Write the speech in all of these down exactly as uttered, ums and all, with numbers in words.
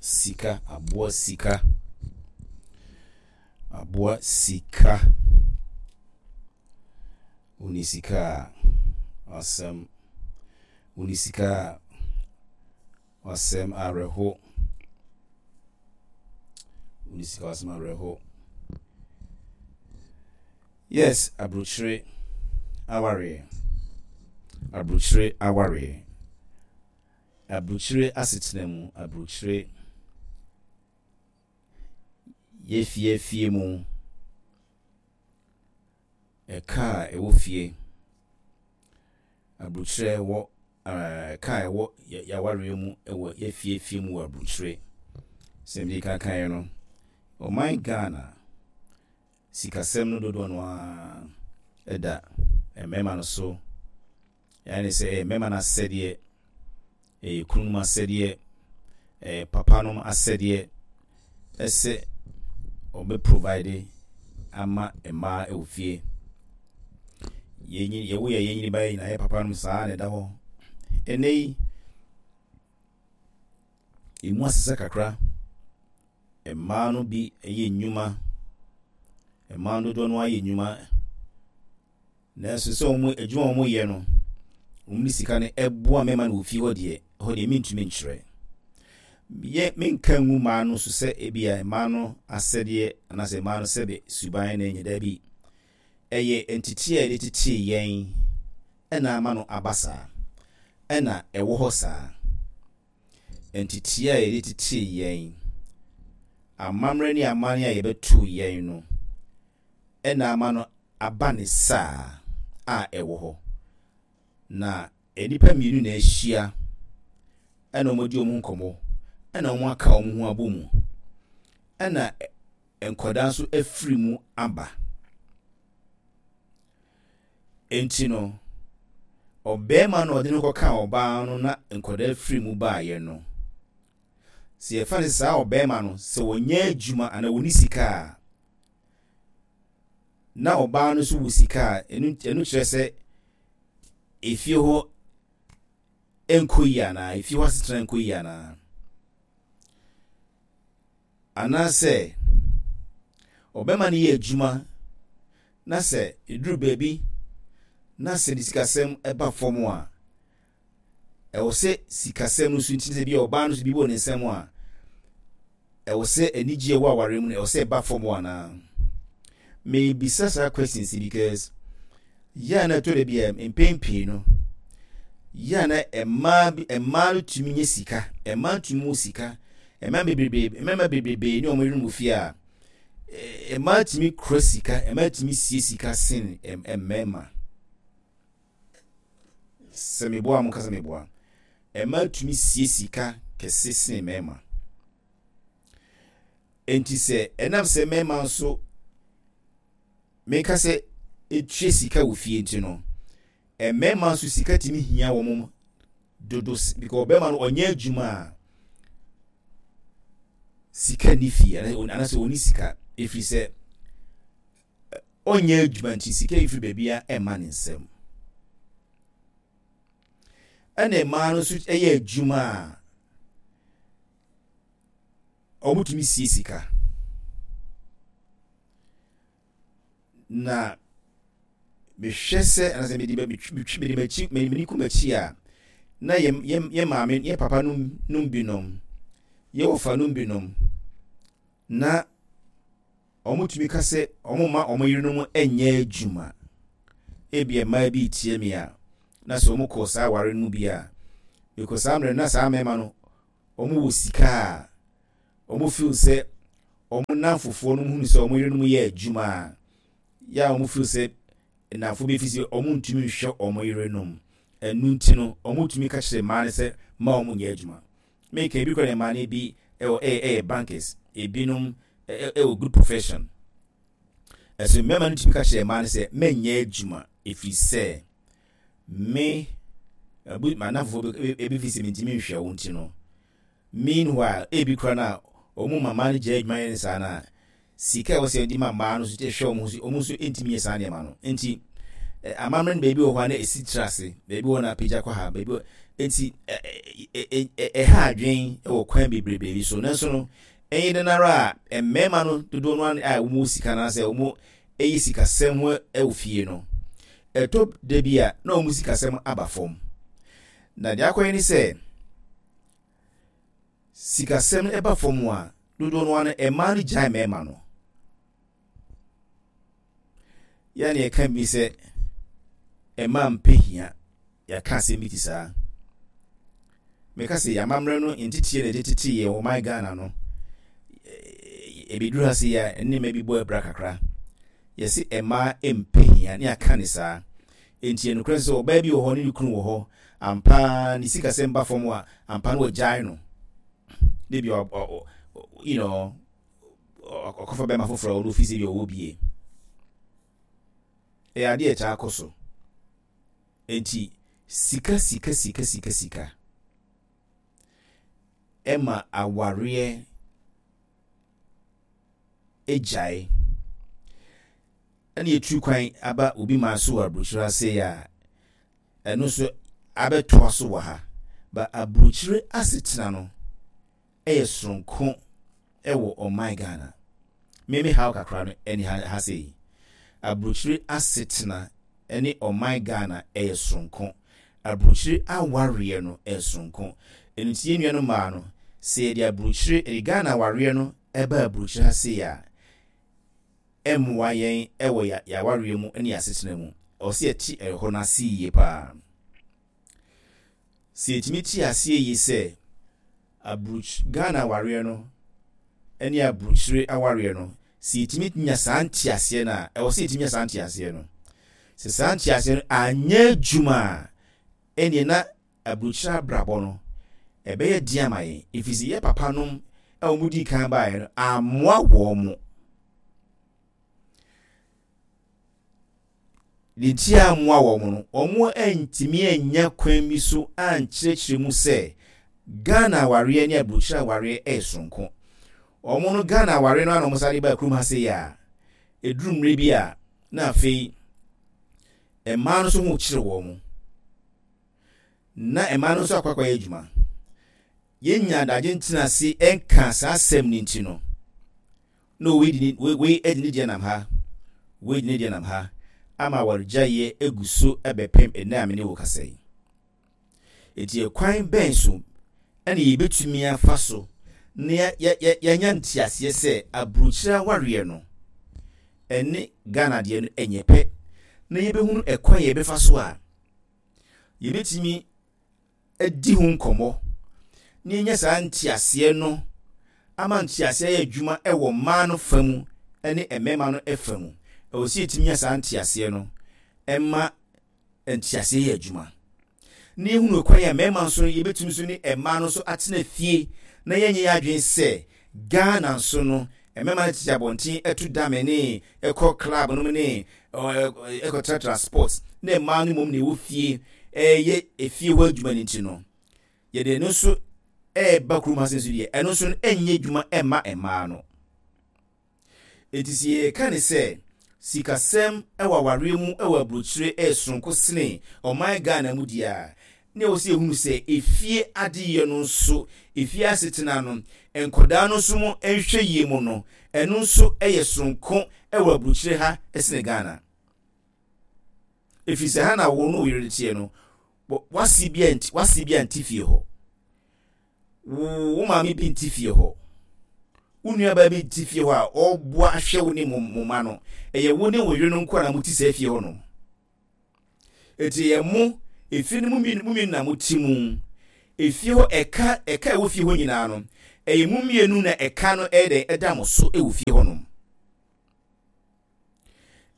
Sika, aboa sika. Aboa sika. Wonni sika a, asɛm. Wonni sika a, asɛm awerɛho. Wonni sika a, asɛm awerɛho. Yes, aburokyire awareɛ. Aburokyire awareɛ. Aburokyire asetena mu, aburokyire yɛfie fie mu. Ɛka a ɛwɔ fie. Aburokyire wɔ ɛɛ ka a ɛwɔ yɛawareɛ mu wɔ yɛfie fie mu wɔ aburokyire. Sɛ mede kan kan no, ɔman Ghana sikasɛm no dodoɔ no ara ɛda mmarima no so. Ɛne sɛ ɛyɛ mmarima no asɛdeɛ, ɛyɛ kununom asɛdeɛ, ɛyɛ papanom asɛdeɛ ɛsɛ ɔbɛ provide ama mmaa ɛwɔ fie. Yɛnyi yɛwo yɛ yɛnyini ba yɛ nyinaa yɛ papanom saa na ɛda hɔ. Ɛnɛ yi, emu asesa kakra. Mmaa no bi yɛ nnwuma. Mmaa no dodoɔ no ara yɛ nnwuma. Nanso sɛ wɔn adwuma a wɔyɛ no, wɔn de sika no ɛboa mmarima no wɔ fie hɔ deɛ, ɛhɔ deɛ mentumi nkyerɛ. Yɛ menka ngu mmaa no so sɛ ebia mmaa no asɛdeɛ anaasɛ mmaa no sɛbe suban na ɛnyɛ daabi. Ɛyɛ nteteɛ a yɛde tetee yɛn ɛna ama no aba saa. Ɛna ɛwɔ hɔ saa. Nteteɛ a yɛde tetee yɛn, amammerɛ ne amanneɛ a yɛbɛtoo yɛn no, ɛna ama no aba ne saa a ɛwɔ hɔ. Na nnipa mmienu na ahyia ɛna wɔn adi wɔn nkɔmmɔ ɛna wɔn aka wɔn ho abɔ mu ɛna nkwadaa nso afiri mu aba. Nti no, ɔbarima no a ɔde no kɔkaa ɔbaa no na nkwadaa firi mu baeɛ no, sɛ yɛfa no sɛ saa ɔbarima no sɛ wɔnyɛ adwuma anaa wɔnni sika a, na ɔbaa no nso wɔ sika a, ɛno ɛno kyerɛ sɛ efie hɔ nkɔ yie anaa efie hɔ asetena nkɔ yie anaa anaasɛ ɔbɛrima no yɛ adwuma na sɛ eduru baabi na sɛ ne sikasɛm ɛba fam a, ɛwɔ sɛ sikasɛm no nso nti sɛ bi a ɔbaa no nso bi wɔ ne nsam a, ɛwɔ sɛ anigye a ɛwɔ awareɛ mu no ɛwɔ sɛ ɛba fam anaa. Mebisa saa questions yi because yɛ a na ɛtɔ da bi a mpɛn pii no, yɛ a na mmaa bi mmaa no tumi nye sika, mmaa tumi wɔ sika, mmaa bebrebe mmarima bebrebe ne wɔn yerenom wɔ fie a, eh, mmaa tumi kura sika, mmaa tumi sie sika sen mmarima. Sɛ meboa a mo kasa meboa. Mmaa tumi sie sika kɛse sen mmarima. Nti sɛ ɛnam sɛ mmarima nso meka sɛ etua sika wɔ fie nti no, mmarima nso sika tumi hia wɔn dodo because ɔbarima no ɔnyɛ adwuma a sika ni fie anaasɛ ɔni sika ɛfiri sɛ ɔnyɛ adwuma nti sika yi firi baabi a ɛmma ne nsam. Ɛna mmaa no nso yɛ adwuma a wɔtumi sie sika. Na mehwɛ sɛ anaasɛ mede metwi mede m'akyi mede kɔ m'akyi a, na yɛ yɛ yɛ maame yɛ papa nom nom binom, yɛ wɔfa nom binom, na wɔtumi ka sɛ wɔn mma wɔn yerenom nyɛ adwuma. Ebia mmaa bi tie me a, na sɛ wɔn kɔ saa aware no mu bi a, because saa mmerɛ na saa mmarima no wɔn wɔ sika a, wɔn feel sɛ wɔn nnamfofoɔ no hunu sɛ wɔn yerenom yɛ adwuma a, yɛ a wɔn feel sɛ nnamfo bi fi sɛ wɔn ntumi nhwɛ wɔn yerenom. Ɛnu nti no, wɔn tumi ka kyerɛ mmaa no sɛ mma wɔn nyɛ adwuma. Meka ebi kora ne mmaa no bi ɛwɔ ɛyɛ ɛyɛ bankers, ebinom ɛwɔ good profession. Ɛso mmarima no tumi ka kyerɛ mmaa no sɛ mɛnyɛ adwuma efiri sɛ me abu m'anamfofoɔ bi ebi fi sɛ mentumi nhwɛ wo nti no. Meanwhile, ebi kora no a wɔn mama no gya adwuma yɛ ne saa na sika a ɛwɔ sɛ yɛde ma mmaa no nso hwɛ wɔn ho so, wɔn nso ntumi nyɛ saa nneɛma no. Nti amammerɛ no baabi wɔ hɔ a na esi tiri ase, baabi wɔ hɔ na apagya kɔ ha, baabi wɔ Enti ɛha adwen wɔ kwan bebrebe bi so. Nanso no, ɛyɛ dɛn ara a, mmarima no dodoɔ no a wɔn sika no anaasɛ wɔn ɛyɛ sikasɛm ho wɔ fie no, ɛtɔ da bi a na wɔn sikasɛm aba fam. Na deɛ akɔyɛ ne sɛ, sikasɛm ɛba fam a, dodoɔ no ara no, mmaa no gyae mmarima no. Yɛn na yɛka bi sɛ mmaa mpɛ hia. Yɛaka asɛm bi te saa. Meka sɛ yɛn amammerɛ no nteteɛ na yɛde tete yɛn wɔ man Ghana no, ɛbɛduru ha sɛ yɛ nneɛma bi bɔ abira kakra. Yɛse mmaa mpɛ hia ne yɛaka ne saa. Enti ɛnokorɛ sɛ ɔbaa bi wɔ hɔ ne ne kunu wɔ hɔ, ampa ne sikasɛm ba fam a, ampa no wɔgyae no. Ne bi you know, ɔkɔfa bɛrima foforɔ a ɔno ofi sɛ bi ɔwɔ bie. Ɛyɛ adeɛ a ɛtaa kɔ so. Enti sika sika sika sika sika ɛma awareɛ agyae. Ɛna yɛtu kwan aba obi man so wɔ aburokyire ase a, ɛno nso abɛtoa so wɔ ha. Ba aburokyire asetena no ɛyɛ soronko ɛwɔ ɔman Ghana. Meme haw kakra no ɛne ha ha sei. Aburokyire asetena ɛne ɔman Ghana ɛyɛ soronko. Aburokyire awareɛ no ɛyɛ soronko. Ɛno nti yɛn nuanom mmaa no, sɛ yɛde aburokyire ɛde Ghana awareɛ no ɛba aburokyire ha sei a, ɛmmoa yɛn ɛwɔ yɛ awareɛ mu ne asetena mu. Ɛwɔ sɛ yɛte ɛhɔ no ase yie paa. Sɛ yɛtumi te aseɛ yie sɛ aburokyi Ghana awareɛ no ɛne aburokyire awareɛ no, sɛ yɛtumi nya saa nteaseɛ no a, ɛwɔ sɛ yɛtumi nya saa nteaseɛ no. Sɛ saa nteaseɛ no anyɛ adwuma a, ɛneɛ na aburokyire abrabɔ no ɛbɛyɛ den ama yɛn. Ɛfiri sɛ yɛ papa nom a wɔn di kan baeɛ no ammoa wɔn mo. Deɛ nti a ammoa wɔn no, wɔn antumi anya kwan bi so ankyerɛkyerɛ mu sɛ Ghana awareɛ ne aburokyire awareɛ ɛyɛ soronko. Wɔn no Ghana awareɛ no ana wɔn sáré ba kurom ha sei a, ɛduru mmerɛ bi a na afei mmaa no nso ho kyerɛ wɔn. Na mmaa no nso akɔ akɔyɛ adwuma. Yɛnya adagye ntena ase nka saa asɛm no nti no, na wei di ne wei di ne deɛ nam ha, wei di ne deɛ nam ha, ama awaregyaeɛ egu so bɛpem ɛnnɛ a me ne wo kasa yi. Eti ɛkwan bɛn so ɛna yɛbɛtumi afa so na yɛanya nteaseɛ sɛ aburokyire awareɛ no ɛne Ghana deɛ no ɛnyɛ pɛ, na yɛbɛhunu ɛkwan yɛbɛfa so a yɛbɛtumi adi ho nkɔmmɔ na yɛnya saa nteaseɛ no ama nteaseɛ yɛ adwuma ɛwɔ mmaa no fa mu ne mmarima no fa mu. Ɛwɔ sɛ yɛtumi nya saa nteaseɛ no ɛma nteaseɛ yɛ adwuma. Na yɛhunu kwan a mmarima nso yɛbɛtumi nso ne mmaa no nso atena fie na yɛnyɛ yɛ adwene sɛ Ghana nso no mmarima no tete abɔnten ɛto dame ne ɛkɔ club no mu ne ɛkɔtratra sports na mmaa no mmom na ɛwɔ fie ɛyɛ efie hɔ adwuma no nti no, yɛde ɛno nso ɛreba kurom ha nso deɛ, ɛno nso no ɛnyɛ adwuma ɛmma mmaa no. Eti sɛ yɛka ne sɛ sikasɛm ɛwɔ awareɛ mu ɛwɔ aburokyire ɛyɛ soronko sene ɔman Ghana mu deɛ a, na ɛwɔ sɛ yɛhunu sɛ efie adeyɛ no nso, efie asetena no, nkɔdaa no nso mu nhwɛ yie mu no, ɛno nso ɛyɛ soronko ɛwɔ aburokyire ha ɛsene Ghana. Ɛfiri sɛ ha na wo ne wo yere teɛ no, wase bi anti wase bi ante fie hɔ, wo wo maame bi nte fie hɔ, wo nuabaa bi nte fie hɔ a ɔreboa ahwɛ wo ne mo mo mma no. Ɛyɛ wo ne wo yere no nko na mote saa fie hɔ nom. Eti ɛyɛ mo efie no mu mmienu mu mmienu na mote mu. Efie hɔ ɛka ɛka ɛwɔ fie hɔ nyinaa no, ɛyɛ mo mmienu na ɛka no ɛyɛ dɛ ɛda mo so ɛwɔ fie hɔ nom.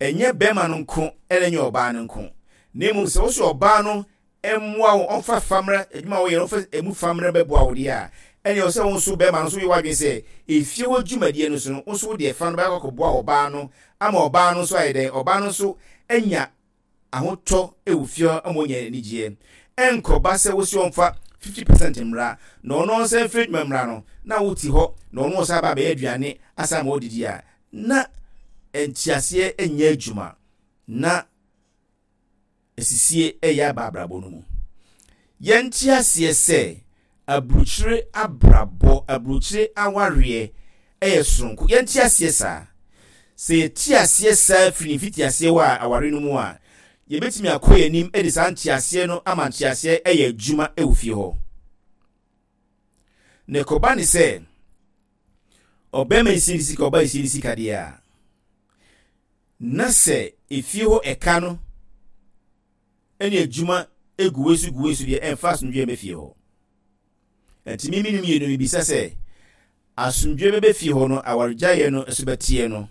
Ɛnyɛ bɛrima no nko ɛna ɛnyɛ ɔbaa no nko, na mmom sɛ wosɛ ɔbaa no mmoa wo, ɔmfa famrɛ adwuma a woyɛ no, ɔmfa emu famrɛ bɛboa wo deɛ a, ɛnea ɔsɛ wo nso bɛrima no nso yɛ w'adwene sɛ efie hɔ dwumadie no so no, wo nso wode ɛfa no bɛkɔ akɔboa ɔbaa no ama ɔbaa no nso ayɛ dɛn, ɔbaa no nso anya ahotɔ wɔ fie hɔ ama ɔnya anigyeɛ. Ɛnkɔba sɛ wosi ɔmfa fifty percent mmra na ɔno ɔnsan mfiri adwuma mmra no, na wote hɔ na ɔno ɔsan aba abɛyɛ aduane asan ama ɔdidi a, na nteaseɛ nyɛ adwuma na asisie ɛyɛ aba abrabɔ no mu. Yɛnte aseɛ sɛ aburukyire abrabɔ, aburukyire awareɛ ɛyɛ soronko. Yɛnte aseɛ saa. Sɛ yɛte aseɛ saa firi ne mfitiaseɛ wɔ a aware no mu a, yɛbɛtumi akɔ yɛn anim de saa nteaseɛ no ama nteaseɛ ɛyɛ adwuma ɛwɔ fie hɔ. Na ɛkɔba ne sɛ ɔbɛrima yi sie ne sika, ɔbaa yi sie ne sika deɛ a, na sɛ efie hɔ ɛka no ɛne adwuma egu wei so gu wei so deɛ, ɛmfa asomdwoeɛ bɛ fie hɔ. Nti mimi no mmienu mibisa sɛ asomdwoeɛ bɛbɛ fie hɔ no, awaregyaeɛ no nso bɛteɛ no,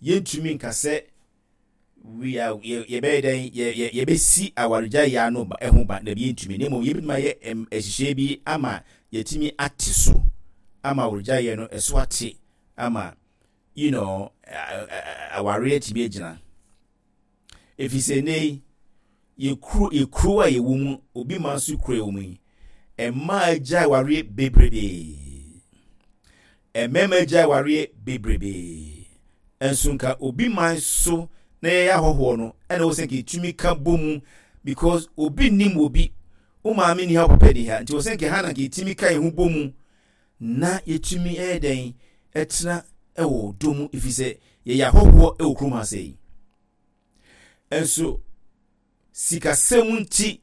yɛntumi nka sɛ we are yɛbɛyɛ dɛn, yɛ yɛbɛsi awaregyaeɛ ano ba ɛho ba na bi yɛntumi, na mmom yɛbɛtumi ayɛ ɛhyehyɛ bi ama yɛtumi ate so ama awaregyaeɛ no ɛso ate ama you know awareɛ tumi agyina. Ɛfiri sɛ nnɛ yi yɛkuro yɛkuro a yɛwɔ mu, obi ma nso kuro yɛwɔ mu yi, mmaa agya awareɛ bebrebee, mmarima agya awareɛ bebrebee. Nso nka obi man so na yɛyɛ ahɔhoɔ no, ɛna wɔ sɛ nka yɛtumi ka bɔ mu, because obi nim obi, wo maame ni ha, wo papa ni ha, nti wɔ sɛ nka ha na nka yɛtumi ka yɛn ho bɔ mu na yɛtumi ɛyɛ dɛn ɛtena ɛwɔ dɔ mu, ɛfiri sɛ yɛyɛ ahɔhoɔ ɛwɔ kurom ha sɛ yi. Nso sikasɛm nti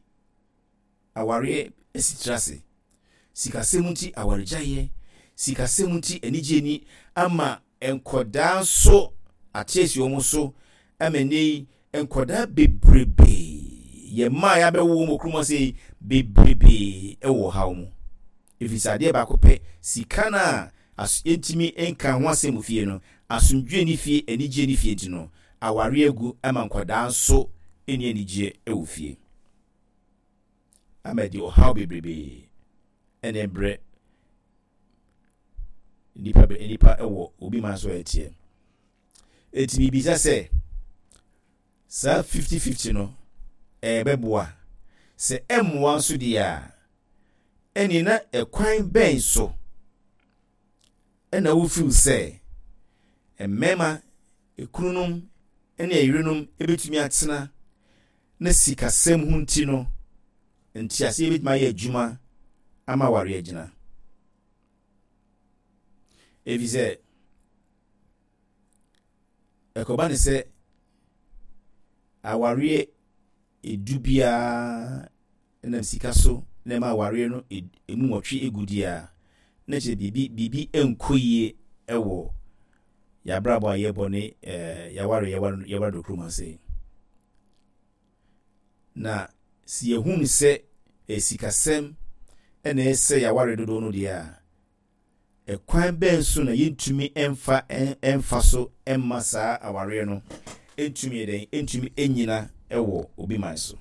awareɛ asitire ase, sikasɛm nti awaregyaeɛ, sikasɛm nti anigye ni ama nkɔdaa nso ate asi wɔn so ama nnɛ yi nkɔdaa bebrebee, yɛn mmaa a yɛabɛwo wɔn wɔ kurom ase yi bebrebee wɔ ɔhaw mu, ɛfiri sɛ adeɛ baako pɛ, sika no a yɛntumi nka ho asɛm wɔ fie no, asomdwoeɛ ne fie, anigyeɛ ne fie nti no, awareɛ agu ama nkɔdaa nso nni anigyeɛ wɔ fie, ama ɛde ɔhaw bebrebee ɛna ɛbrɛ nipa nipa ɛwɔ obi man so ɛteɛ. Eti bibisa sɛ saa fifty fifty no ɛbɛboa? Sɛ ɛmmoa nso deɛ a, ɛne na ɛkwan bɛn so ɛna wofeel sɛ mmarima ekununom ne ɛyerenom ebɛtumi atena na sikasɛm ho nti no nteaseɛ bɛtumi ayɛ adwuma ama awareɛ agyina? Ɛfiri sɛ ɛkɔba ne sɛ awareɛ edu biara nam sika so na ɛma awareɛ no emu nwɔtwe egu deɛ a, na kyerɛ biribi biribi nkɔ yie ɛwɔ yɛabrabɔ a yɛbɔ ne ɛɛ yɛaware yɛware yɛware do kurom ase. Na si yɛhunu sɛ esikasɛm ɛna ɛsɛ yɛaware dodoɔ no deɛ a, ɛkwan bɛn so na yɛntumi ɛmfa ɛmfa so ɛmma saa awareɛ no ɛntumi yɛ dɛn, ɛntumi ɛnyina ɛwɔ obi man so?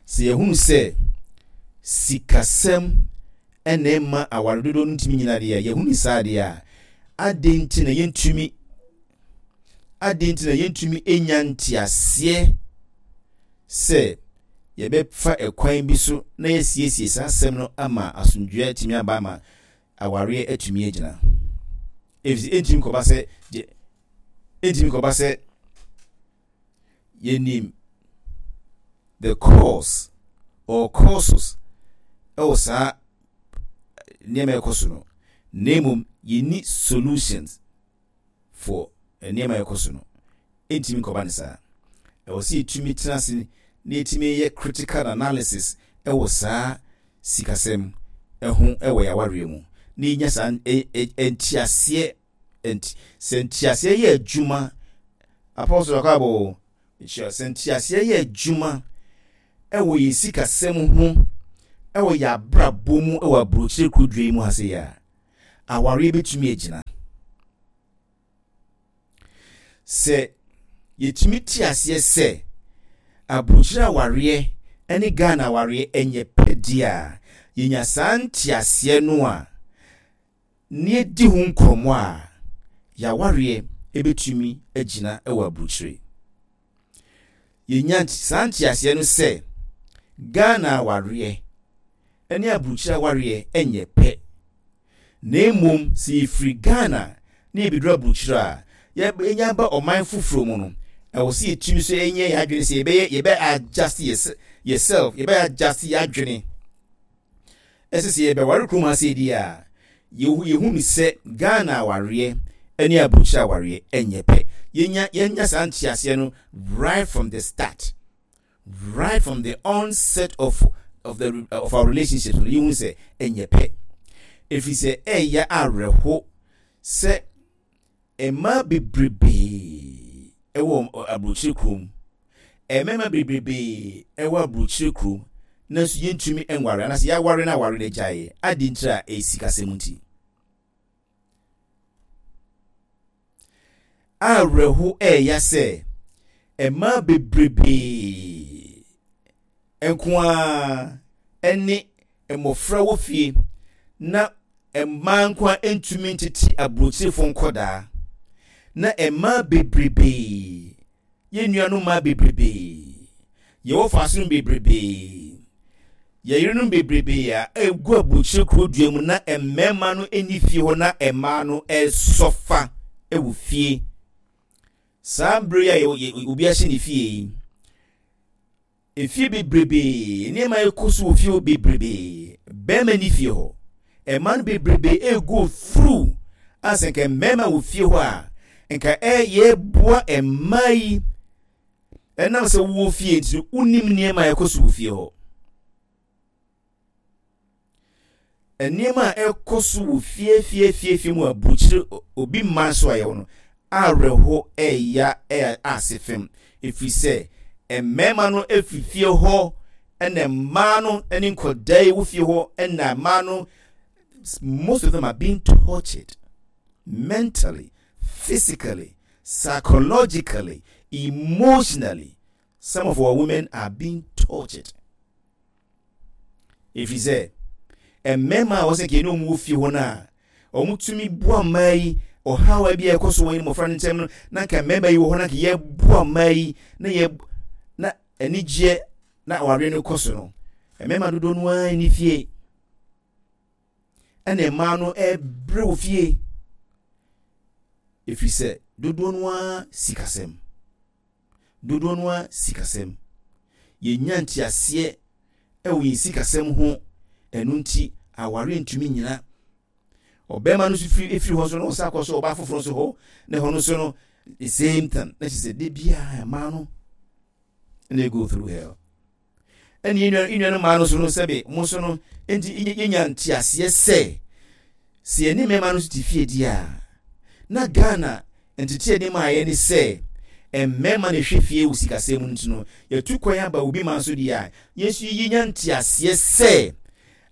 Sɛ yɛhunu sɛ sikasɛm ɛna ɛma aware dodoɔ no ntumi nyina deɛ a, yɛhunu saa deɛ a, adɛn nti na yɛntumi adɛn nti na yɛntumi ɛnya nteaseɛ sɛ yɛbɛfa ɛkwan bi so na yɛsiesie saa asɛm no ama asomdwoeɛ atumi aba, ama awareɛ atumi agyina? Ɛfiri ɛntumi kɔba sɛ gye ɛntumi kɔba sɛ yɛnim the cause or causes ɛwɔ saa nneɛma ɛkɔ so no, na mmom yɛnni solutions for nneɛma ɛkɔ so no. Ɛntumi nkɔba ne saa. Ɛwɔ sɛ yɛtumi tena ase na yɛtumi yɛ critical analysis ɛwɔ saa sikasɛm ɛho ɛwɔ yɛawareɛ mu na yɛnya saa nteaseɛ. Sɛ nteaseɛ yɛ adwuma, Apostle Akabo kyerɛ sɛ nteaseɛ yɛ adwuma ɛwɔ yɛn sikasɛm ho ɛwɔ yɛn abrabɔ mu ɛwɔ aburokyire kurodua yi mu ha sɛ yɛ a, awareɛ bɛtumi agyina. Sɛ yɛtumi te aseɛ sɛ aburokyire awareɛ ne Ghana awareɛ ɛnyɛ pɛ deɛ a, yɛnya saa nteaseɛ no a ne yɛdi ho nkɔmmɔ a, yɛawareɛ ɛbɛtumi agyina ɛwɔ aburokyire. Yɛnya saa nteaseɛ no sɛ Ghana awareɛ ne aburokyire awareɛ ɛnyɛ pɛ, na mmom sɛ yɛfiri Ghana na yɛbɛduru aburokyire a, yɛnya ba ɔman foforɔ mu no, ɛwɔ sɛ yɛtumi so ɛnyɛ yɛn adwene sɛ yɛbɛyɛ yɛbɛ adjust yɛ yourself, yɛbɛyɛ adjust yɛ adwene. Ɛsɛ sɛ yɛbɛware kurom ha sɛ di a, yɛhu yɛhu no sɛ Ghana awareɛ ne aburokyire awareɛ ɛnyɛ pɛ. Yɛnya yɛnya saa nteaseɛ no right from the start, right from the onset of of the of our relationship no, yɛhu sɛ ɛnyɛ pɛ. Ɛfiri sɛ ɛyɛ awerɛho sɛ mmaa bebrebee ɛwɔ aburokyire kurom, mmarima bebrebee ɛwɔ aburokyire kurom, nanso yɛntumi nware anaasɛ yɛaware no, aware no agyaeɛ adi ntira a ɛyɛ sikasɛm nti. Awerɛho ɛɛya sɛ mmaa bebrebee nko ara ne mmɔfra wɔ fie na mmaa nko ara ntumi ntete aburokyirefo nkɔdaa, na mmaa bebrebee, yɛn nuanom mmaa bebrebee, yɛwɔ fasonom bebrebee, yɛn yerenom bebrebee a egu aburokyire kuro dua mu na mmarima no nni fie hɔ na mmaa no ɛresɔfa wɔ fie. Saa mbere yi a obi ahyɛ ne fie yi, efie bebrebee, nneɛma ɛkɔ so wɔ fie hɔ bebrebee, bɛrima ni fie hɔ, mmaa no bebrebee ego through a sɛ nka mmarima wɔ fie hɔ a, nka ɛyɛ boa mmaa yi. Ɛnam sɛ wowɔ fie nti, wonim nneɛma a ɛkɔ so wɔ fie hɔ. Nneɛma a ɛkɔ so wɔ fie fie fie fie mu aburukyire obi mma nso a yɛwɔ no awerɛho ɛya ɛyɛ ase fam, ɛfiri sɛ mmarima no ɛfiri fie hɔ ɛna mmaa no ne nkɔdaa yi wɔ fie hɔ, ɛna mmaa no, most of them are being tortured mentally, physically, psychologically, emotionally. Some of our women are being tortured. Ɛfiri sɛ mmarima a wɔsɛ kɛne wɔn wɔ fie hɔ no a wɔtumi boa mmaa yi, ɔhaw bi a ɛkɔ so wɔ mmɔfra no nkyɛn no, na nka mmarima yi wɔ hɔ na nka yɛboa mmaa yi na yɛ na anigyeɛ na awareɛ no kɔ so no, mmarima dodoɔ no ara ni fie ɛna mmaa no ɛbrɛ wɔ fie, ɛfiri sɛ dodoɔ no ara sikasɛm, dodoɔ no ara sikasɛm, yɛnya nteaseɛ ɛwɔ yɛn sikasɛm ho. Ɛno nti awareɛ ntumi nyina. Ɔbɛrima no nso firi efiri hɔ nso na ɔsa akɔ so ɔbaa foforɔ nso hɔ, na ɛhɔ no nso no the same thing, na kyerɛ sɛ de biara mmaa no na go through hell. Ɛne yɛn nua no mmaa no nso no, sɛbe mo nso no nti yɛnya nteaseɛ sɛ sɛ yɛne mmarima no nso te fie di a, na Ghana ntete anim a yɛne sɛ mmarima na ɛhwɛ fie wɔ sikasɛm mu nti no, yɛtu kwan aba obi ma nso deɛ a, yɛn nso yɛnya nteaseɛ sɛ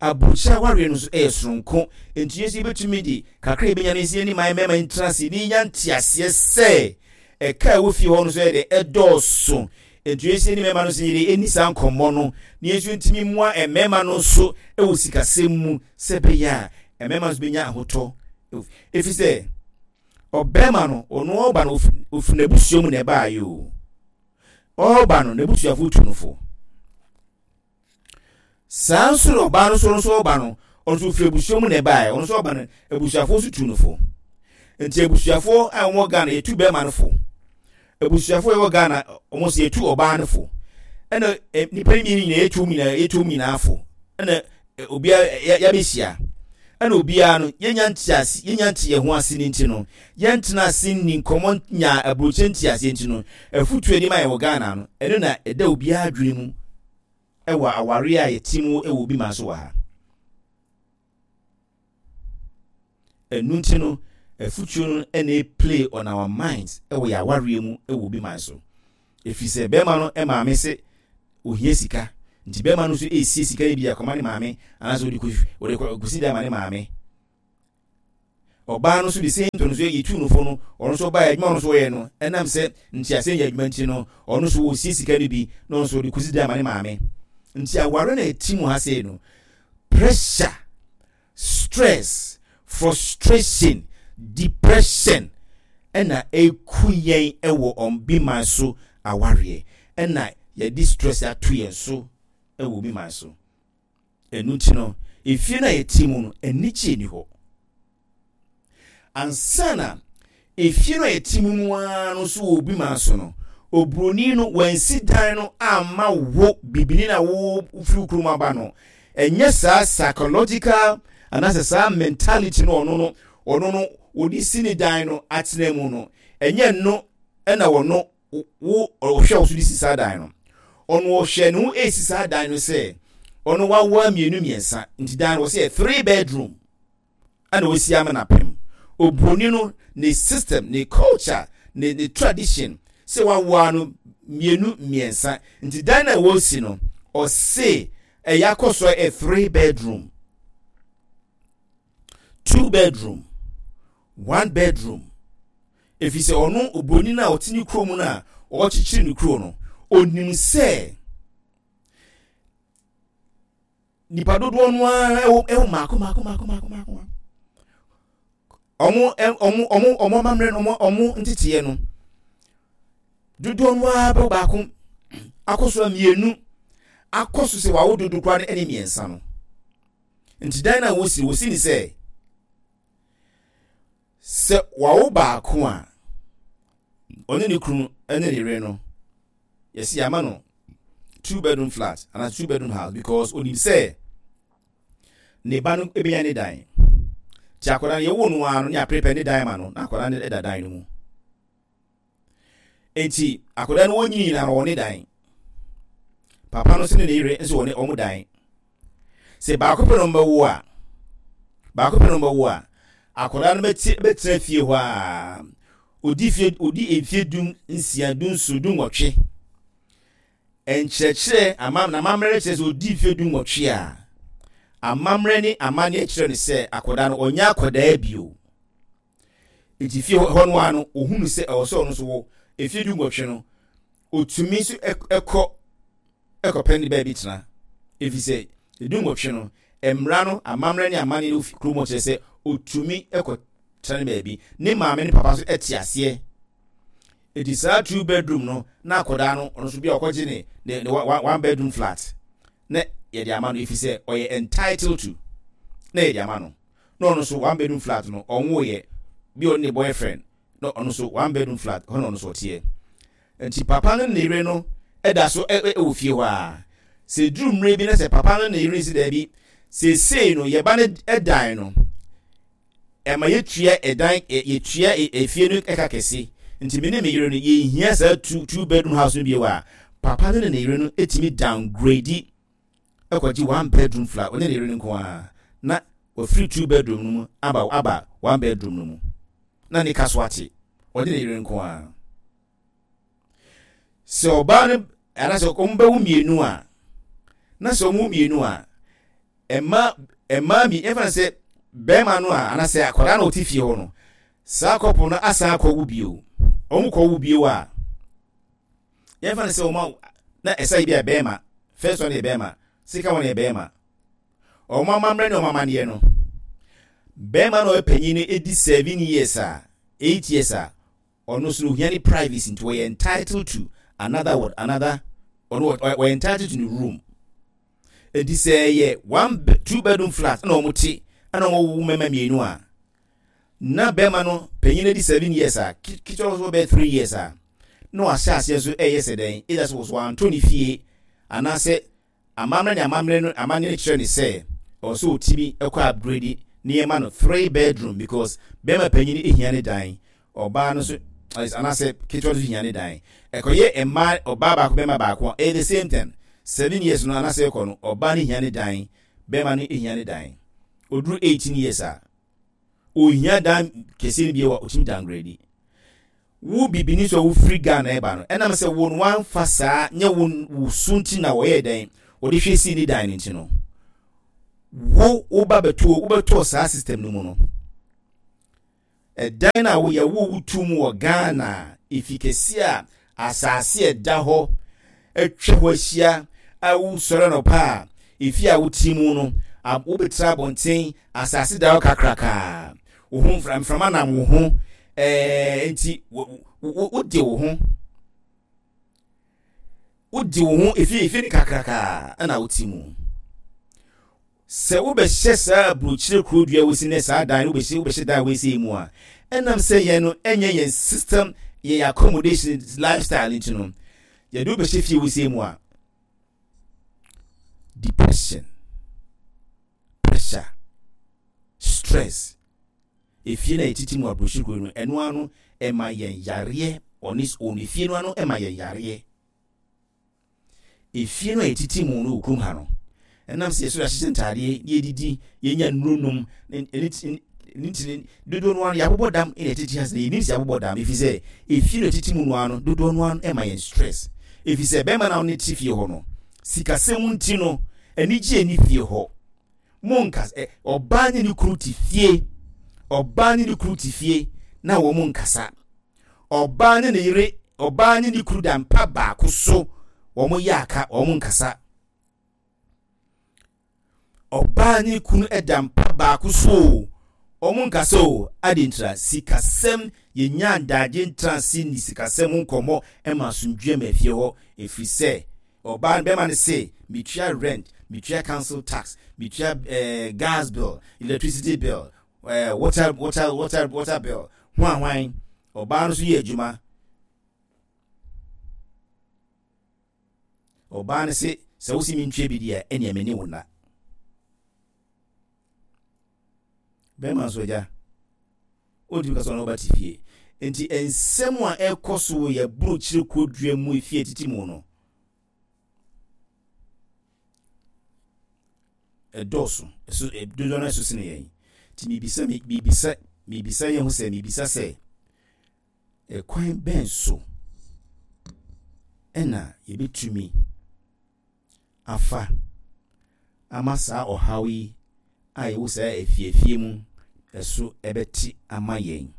aburokyire awareɛ no nso ɛyɛ soronko. Nti yɛn nso yɛbɛtumi de kakra yɛbɛnya no nsi yɛne man mmarima ntena ase ne yɛnya nteaseɛ sɛ ɛka a ɛwɔ fie hɔ no nso yɛ de ɛdɔɔso. Nti yɛn nso yɛne mmarima no nso yɛde ɛni saa nkɔmmɔ no na yɛn nso ntumi mmoa mmarima no nso ɛwɔ sikasɛm mu sɛ ɛbɛyɛ a mmarima nso bɛnya ahotɔ, ɛfiri sɛ ɔbɛrima no, ɔno ɔba no ofiri n'abusua mu na ɛbaayɛ o, ɔba no n'abusuafo tu no fo. Saa nso na ɔbaa no nso nso ɔba no, ɔno nso ofiri abusua mu na ɛbaayɛ, ɔno nso ɔba no abusuafo nso tu no fo. Nti abusuafo a wɔwɔ Ghana yɛtu bɛrima no fo, abusuafo a wɔwɔ Ghana wɔn nso yɛtu ɔbaa no fo, ɛna nipa no mmienu nyinaa yɛtu wɔn nyinaa yɛtu wɔn nyinaa fo, ɛna obiara yɛabɛhyia, ɛna obiara no yɛnya ntease, yɛnya nte yɛn ho ase ne nti no yɛntena ase nni nkɔmmɔ nya aburokyire nteaseɛ nti no, afutuo anim a yɛwɔ Ghana no, ɛno na ɛda obiara adwene mu ɛwɔ awareɛ a yɛte mu ɛwɔ obi ma so wɔ ha. Ɛno nti no afutuo no ɛna play on our minds ɛwɔ yɛ awareɛ mu ɛwɔ obi man so, ɛfiri sɛ bɛrima no maame sɛ ohia sika nti bɛrima no nso esie sika no bi akɔma ne maame anaasɛ ɔde kɔ ɔde kɔsi dan ma ne maame. Ɔbaa no nso de same thing nso yɛtu no fo no, ɔno nso ɔbaa adwuma ɔno nso ɔyɛ no, ɛnam sɛ nteaseɛ nyɛ adwuma nti no, ɔno nso ɔsie sika no bi na ɔno nso ɔde kɔsi dan ma ne maame. Nti aware no ɛti mu ha sei no, pressure, stress, frustration, depression ɛna ɛku yɛn ɛwɔ ɔbi man so awareɛ, ɛna yɛde stress ato yɛn so ɛwɔ obi man so. Ɛno nti no efie no a yɛte mu no, anigye ni hɔ. Ansa na efie no a yɛte mu no ara no nso wɔ obi man so no, Oburoni no wansi dan no amma wo bibini na wo firi kurom aba no. Ɛnyɛ saa psychological anaasɛ saa mentality no ɔno no ɔno no wɔde si ne dan no atena mu no, ɛnyɛ no ɛna wɔno wo ɔhwɛ wo so de si saa dan no. Ɔno ɔhwɛ ne ho esi saa dan no sɛ ɔno wawoa mmienu mmiɛnsa, nti dan no wɔsɛ yɛ three bedroom ɛna wɔsi ama n'apem. Oburoni no ne system, ne culture, ne ne tradition sɛ wawoa no mmienu mmiɛnsa, nti dan na wɔsi no, ɔse ɛyɛ akɔ so ɛ three bedroom, two bedroom, one bedroom, efi sɛ ɔno oburoni no a ɔte ne kurom no a ɔrekyekyere ne kuro no, onim sɛ nipa dodoɔ no ara ɛwɔ ɛwɔ mako mako mako mako mako. Ɔmo ɔmo ɔmo ɔmo amammerɛ no, ɔmo ɔmo nteteɛ no, dodoɔ no ara bɛ baako akɔ so mmienu akɔ so sɛ wawo dodo koraa no ɛne mmiɛnsa no. Nti dan na wosi wosi ne sɛ sɛ wawo baako a, ɔne ne kunu ɛne ne yere no, yɛsi ama no two bedroom flat and two bedroom house, because onim sɛ ne ba no ebenya ne dan. Ti akwadaa no yɛwo no ara no, ne aprepare ne dan ma no, na akwadaa no da dan no mu. Eti akwadaa no wɔnyini nyinaa no, wɔ ne dan. Papa no nso ne ne yere nso wɔ ne wɔn dan. Sɛ baako pɛ no mbɛwo a, baako pɛ no mbɛwo a, akwadaa no bɛte bɛtena fie hɔ a odi fie odi mfie dum nsia, dum nson, dum nwɔtwe. Nkyerɛkyerɛ ama n'amammerɛ kyerɛ sɛ odi mfie dum nwɔtwe a, amammerɛ ne amanneɛ kyerɛ no sɛ akwadaa no ɔnyɛ akwadaa bio. Nti fie hɔ no ara no, ohunu sɛ ɛwɔ sɛ ɔno nso wɔ efie du nwɔtwe no, otumi nso ɛkɔ ɛkɔpɛ ne baabi tena, efi sɛ edu nwɔtwe no, mmara no, amammerɛ ne amanneɛ no kurom kyerɛ sɛ otumi ɛkɔ tena ne baabi. Ne maame ne papa nso ɛte aseɛ. Eti saa two bedroom no, na akwadaa no ɔno nso bi a ɔkɔgye ne ne ne one bedroom flat na yɛde ama no, efi sɛ ɔyɛ entitled to, na yɛde ama no, na ɔno nso one bedroom flat no, ɔnwo yɛ bi, ɔne ne boyfriend, na ɔno nso one bedroom flat hɔ na ɔno nso ɔteɛ. Nti papa no ne yere no ɛda so ɛwɔ fie hɔ a, sɛ duru mmerɛ bi na sɛ papa no ne yere si daabi, seesei no yɛba no ɛdan no ɛma yɛtua ɛdan, yɛtua efie no ɛka kɛse, nti me ne me yere no yɛhia saa two two bedroom house no bio a, papa no ne ne yere no etumi downgrade ɛkɔgye one bedroom flat, ɔne ne yere no nko ara, na wafiri two bedroom no mu aba aba one bedroom no mu, na ne ka so ate, ɔne ne yere nko ara. Sɛ ɔbaa no anaasɛ wɔn bɛwo mmienu a, na sɛ wɔn mmienu a, mmaa mmaa mi yɛfa no sɛ bɛrima no a anaasɛ akwadaa na ɔte fie hɔ no, saa couple no asan akɔwo bio. Wɔn kɔwo bio a, yɛfa no sɛ wɔn a na ɛsɛ yi bi a bɛrima first one yɛ bɛrima, second one yɛ bɛrima, wɔn amammerɛ ne wɔn amanneɛ no, bɛrima na ɔyɛ panyin no edi seven years a, eight years a, ɔno nso no ohia ne privacy, nti wɔyɛ entitled to another what, another, ɔno wɔyɛ entitled to ne room. Eti sɛ ɛyɛ one two bedroom flat ɛna wɔn te ɛna wɔn wo mmarima mmienu a, na bɛrima no panyin no di seven years a, ketewa nso bɛyɛ three years a, na wahyɛ aseɛ nso ɛyɛ sɛ dɛn, either sɛ wɔso wanto ne fie anaasɛ amammerɛ ne amammerɛ no amanneɛ no kyerɛ ne sɛ ɔwɔ sɛ ɔtumi ɛkɔ upgrade nneɛma no three bedroom, because bɛrima panyin ehia ne dan, ɔbaa no nso anaasɛ ketewa no nso hia ne dan. Ɛkɔyɛ mmaa, ɔbaa baako, bɛrima baako a, ɛyɛ the same thing. Seven years no anaasɛ ɛkɔ no, ɔbaa no hia ne dan, bɛrima no hia ne dan. Oduru eighteen years a, ohia dan kɛseɛ no bi wɔ, otumi downgrade. Wo bibini so a wofiri Ghana ɛba no, ɛnam sɛ wɔn wanfa saa nyɛ wo wo so nti na wɔyɛ dɛn wɔde hwɛ si ne dan no nti no, wo woba bɛto wobɛtɔ saa system no mu no, ɛdan a woyɛ wo wotu mu wɔ Ghana, efi kɛse a asase ɛda hɔ atwa hɔ ahyia a, wosɔre no pa a, efi a wote mu no, wobɛtena abɔnten, asase da hɔ kakrakaa, wo ho mframa nam wo ho, ɛɛ nti wode wo ho wode wo ho efi efi ne kakrakaa ɛna wote mu. Sɛ wobɛhyɛ saa aburokyire kuro dua wosi ne saa dan no, wobɛhyɛ wobɛhyɛ dan wosi mu a, ɛnam sɛ yɛn no ɛnyɛ yɛn system Yɛn accommodation lifestyle nti no, yɛde wo bɛhyɛ fie wosei mu a, depression, pressure, stress. Efie no a yɛtete mu aburokyiri kuro no, ɛno ano ɛma yɛn yareɛ on its own. Efie no ano ɛma yɛn yareɛ. Efie no a yɛtete mu no wɔ kurom ha no, ɛnam sɛ yɛsɔre ahyehyɛ ntaadeɛ na yɛdidi, yɛnya nnuro nom, ne ne ti dodoɔ no ano yɛabobɔ dam na yɛtete ha sɛ yɛnim sɛ yɛabobɔ dam, ɛfiri sɛ efie no a yɛtete mu no ano dodoɔ no ano ɛma yɛn stress. Ɛfiri sɛ bɛrima no a ɔne te fie hɔ no, sikasɛm nti no, anigye nni fie hɔ. Monka ɛ ɔbaa ne ne kunu te fie, ɔbaa ne ne kunu te fie na wɔn nkasa. Ɔbaa ne ne yere, ɔbaa ne ne kunu da mpa baako so, wɔn yɛ aka, wɔn nkasa. Ɔbaa ne kunu da mpa baako so, wɔn nkasa o. Adi ntra sikasɛm, yɛnya ndagye ntrase ne sikasɛm nkɔmmɔ ma asomdwe ma fie hɔ, ɛfiri sɛ ɔbaa no bɛrima no se metua rent, metua council tax, metua eh, gas bill, electricity bill, eh, water water water water bill, ho ahwan. Ɔbaa no nso yɛ adwuma. Ɔbaa no se sɛ wosi mi ntua bi deɛ, ɛnea me ne wo na. Bɛrima nso agya ɔntumi kasa, ɔno ɔba te fie. Nti nsɛm a ɛkɔ so wɔ yɛ burokyire kurodua mu, efie titi mu no, ɛdɔɔso, ɛso dodoɔ no ɛso sene yɛn. Nti mibisa mibisa mibisa yɛn ho sɛ, mibisa sɛ, ɛkwan bɛn so ɛna yɛbɛtumi afa ama saa ɔhaw yi a yɛwɔ saa efiefie mu ɛso ɛbɛte ama yɛn?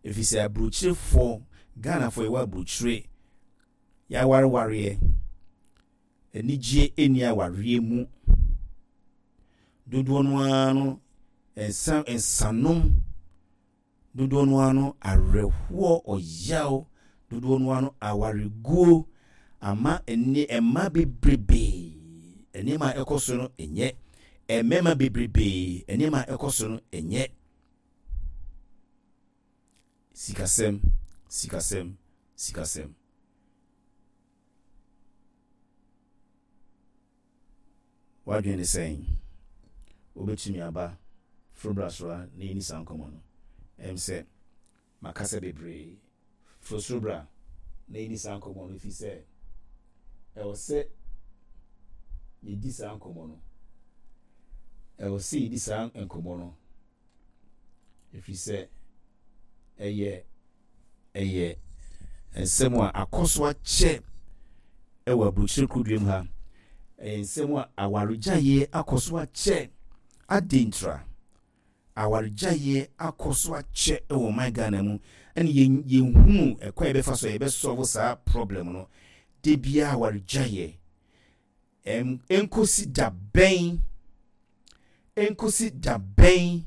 Ɛfiri sɛ aburokyirefoɔ, Ghanafoɔ yɛwɔ aburokyire, yɛawarewareɛ, anigye ɛnni awareɛ mu. Dodoɔ no ara no nsa nsanom, dodoɔ no ara no awerɛhoɔ, ɔyaw, dodoɔ no ara no awareguo ama ɛnne mmaa bebrebee nneɛma a ɛkɔ so no nyɛ, mmarima bebrebee nneɛma a ɛkɔ so no nyɛ. Sikasɛm, sikasɛm, sikasɛm. Wadwene ne sɛn? Wobɛtumi aba foro bra soro a na yɛni saa nkɔmmɔ no. Ɛm sɛ makasa bebree. Foro soro bra na yɛni saa nkɔmmɔ no, ɛfiri sɛ ɛwɔ sɛ yɛdi saa nkɔmmɔ no. Ɛwɔ sɛ yɛdi saa nkɔmmɔ no, ɛfiri sɛ ɛyɛ ɛyɛ nsɛm a akɔ so akyɛ ɛwɔ aburokyire kurodua mu ha. Ɛyɛ nsɛm a awaregyaeɛ akɔ so akyɛ. Adi ntra awaregyaeɛ akɔ so akyɛ ɛwɔ ɔman Ghana mu, ɛne yɛn yɛnhunu ɛkwan yɛbɛfa so a yɛbɛsolve saa problem no. De biara awaregyaeɛ. ɛm nkosi da bɛn, nkosi da bɛn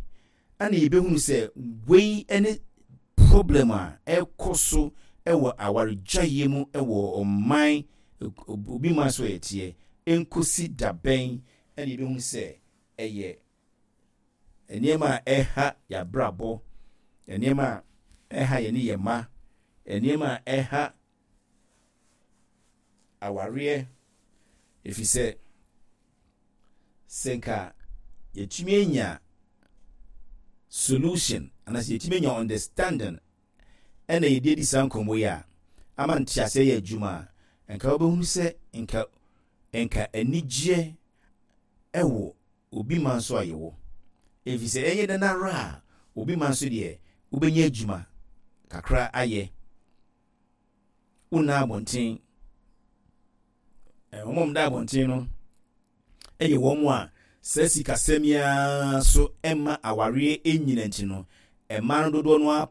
ɛna yɛbɛhunu sɛ wei ne problem a ɛkɔ so ɛwɔ awaregyaeɛ mu ɛwɔ ɔman obi man so yɛteɛ? Nkosi da bɛn ɛna yɛbɛhunu sɛ ɛyɛ nneɛma a ɛha yɛabrabɔ, nneɛma a ɛha yɛne yɛn mma, nneɛma a ɛha awareɛ? Ɛfiri sɛ sɛ nka yɛtumi anya solution anaasɛ yɛtumi anya understanding ɛna yɛde adi saa nkɔmmɔ yi a ama nteaseɛ yɛ adwuma a, nka wobɛhunu sɛ nka nka anigyeɛ ɛwɔ obi man so a yɛwɔ. Ɛfiri sɛ ɛyɛ dɛn ara a, obi man so deɛ, wobɛnya adwuma kakra ayɛ, wonna abɔnten. Wɔn a wɔda abɔnten no yɛ wɔn a saa sikasɛm yi ara so mma awareɛ nyina nti no, mmaa no dodoɔ no ara